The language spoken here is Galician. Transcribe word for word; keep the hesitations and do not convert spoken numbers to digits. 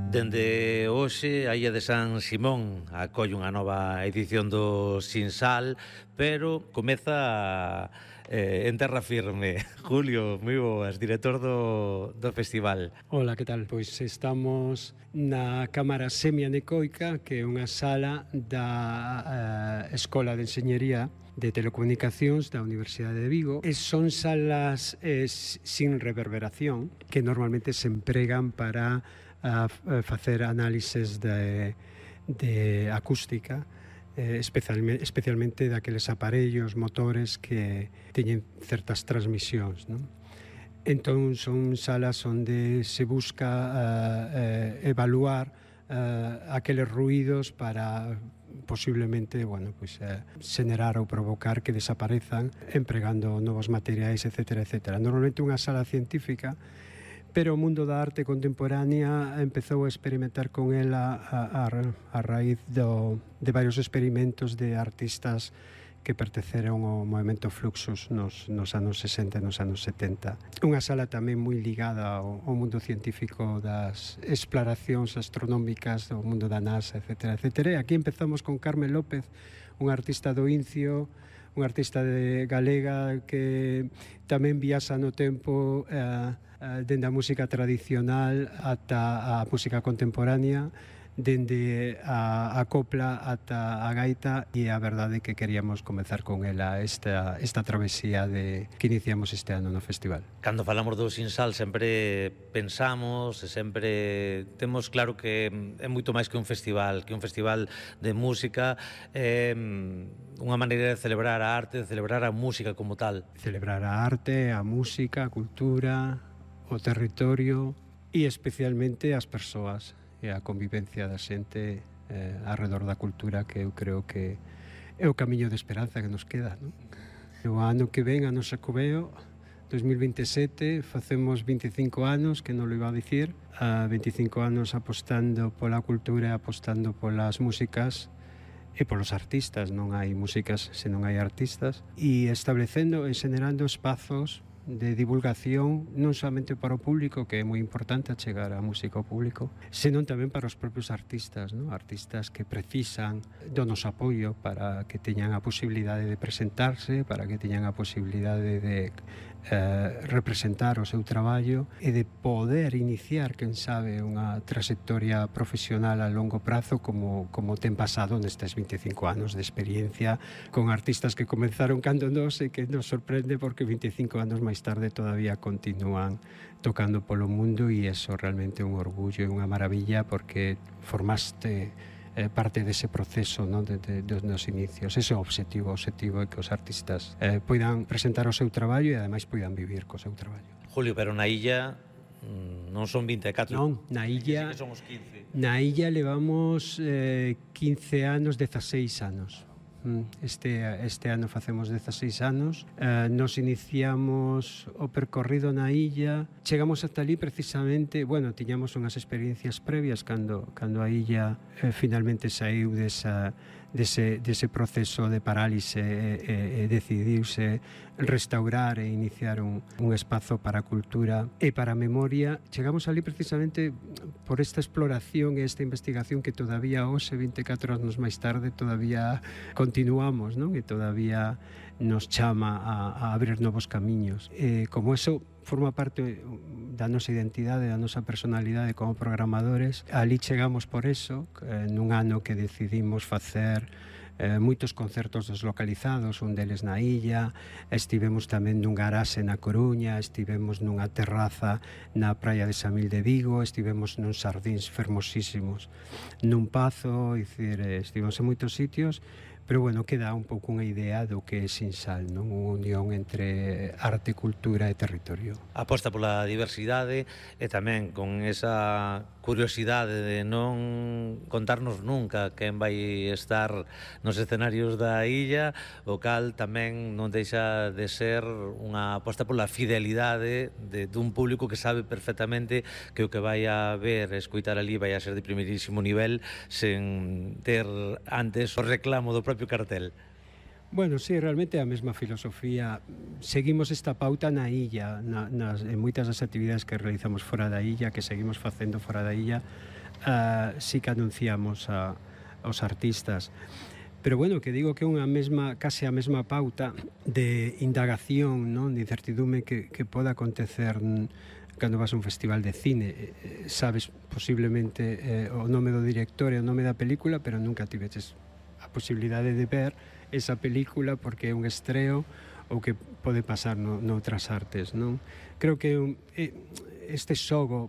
Dende hoxe, a Illa de San Simón acolle unha nova edición do Sinsal, pero comeza eh, en terra firme. Julio, moi boas, director do, do festival. Ola, que tal? Pois estamos na Cámara Semianecoica, que é unha sala da eh, Escola de Enxeñería de Telecomunicacións da Universidade de Vigo. E son salas eh, sin reverberación, que normalmente se empregan para a facer análises de, de acústica, eh, especialmente, especialmente daqueles aparellos, motores que teñen certas transmisións, non? Entón son salas onde se busca uh, uh, evaluar uh, aqueles ruídos para posiblemente, bueno, pues, uh, xenerar ou provocar que desaparezan empregando novos materiais, etcétera, etcétera. Normalmente unha sala científica, pero o mundo da arte contemporánea empezou a experimentar con ela a, a, a raíz do, de varios experimentos de artistas que pertenceron ao movimento Fluxus nos, nos anos sesenta e nos anos setenta. Unha sala tamén moi ligada ao, ao mundo científico das exploracións astronómicas do mundo da NASA, etcétera, etcétera. E aquí empezamos con Carmen López, un artista do Incio, un artista de galega que tamén viaxa no tempo eh, dende a música tradicional ata a música contemporánea, dende a, a copla ata a gaita, e a verdade que queríamos comezar con ela esta, esta travesía de, que iniciamos este ano no festival. Cando falamos do Sinsal sempre pensamos e sempre temos claro que é moito máis que un festival, que un festival de música, é unha maneira de celebrar a arte, de celebrar a música como tal. Celebrar a arte, a música, a cultura, o territorio e especialmente as persoas e a convivencia da xente eh, arredor da cultura, que eu creo que é o camiño de esperanza que nos queda, non? O ano que ven, a nosa Coveo dos mil veintesete, facemos vinte e cinco anos, que non lo iba a dicir, a vinte e cinco anos apostando pola cultura, apostando polas músicas e polos artistas. Non hai músicas se non hai artistas, e establecendo e xenerando espazos de divulgación non somente para o público, que é moi importante achegar a música ao público, senón tamén para os propios artistas, non? Artistas que precisan do noso apoio para que teñan a posibilidade de presentarse, para que teñan a posibilidade de eh, representar o seu traballo e de poder iniciar, quen sabe, unha trayectoria profesional a longo prazo como, como ten pasado nestes vinte e cinco anos de experiencia con artistas que comenzaron cando nos, e que nos sorprende porque vinte e cinco anos máis tarde todavía continúan tocando polo mundo, e eso realmente é un orgullo e unha maravilla porque formaste eh, parte dese proceso, non, de, de, dos nos inicios. Ese é o obxectivo, o obxectivo é que os artistas eh, poidan presentar o seu traballo e ademais poidan vivir co seu traballo. Julio, pero na illa non son vinte e catro. Non, na illa, sí que son os quince. Na illa levamos eh, quince anos, dezaseis anos. Este, este ano facemos dezaseis anos. eh, Nos iniciamos o percorrido na illa. Chegamos ata ali precisamente, bueno, tiñamos unhas experiencias previas cando, cando a illa eh, finalmente saiu desa, dese, dese proceso de parálise e, e, e decidiuse restaurar e iniciar un, un espazo para a cultura e para a memoria. Chegamos ali precisamente por esta exploración e esta investigación que todavía hoxe, vinte e catro anos máis tarde, todavía continuamos, non? E todavía nos chama a, a abrir novos camiños. E como eso forma parte da nosa identidade, da nosa personalidade como programadores, ali chegamos por eso, nun ano que decidimos facer eh, moitos concertos deslocalizados, un deles na illa, estivemos tamén nun garaxe na Coruña, estivemos nunha terraza na praia de Samil de Vigo, estivemos nuns sardíns fermosísimos nun pazo, dicir, estivemos en moitos sitios, pero bueno, queda un pouco unha idea do que é Sinsal, non? Unha unión entre arte, cultura e territorio. Aposta pola diversidade e tamén con esa curiosidade de non contarnos nunca quen vai estar nos escenarios da illa, o cal tamén non deixa de ser unha aposta pola fidelidade de, dun público que sabe perfectamente que o que vai a ver e escoitar ali vai a ser de primeirísimo nivel sen ter antes o reclamo do propio cartel. Bueno, sí, realmente é a mesma filosofía. Seguimos esta pauta na illa, na, nas, en moitas das actividades que realizamos fora da illa, que seguimos facendo fora da illa. uh, sí que anunciamos a, aos artistas. Pero bueno, que digo que é unha mesma, case a mesma pauta de indagación, non? De incertidume que, que poda acontecer cando vas a un festival de cine. Eh, sabes posiblemente eh, o nome do director e o nome da película, pero nunca tiveches a posibilidade de ver esa película porque é un estreo ou que pode pasar no, noutras artes, non? Creo que este xogo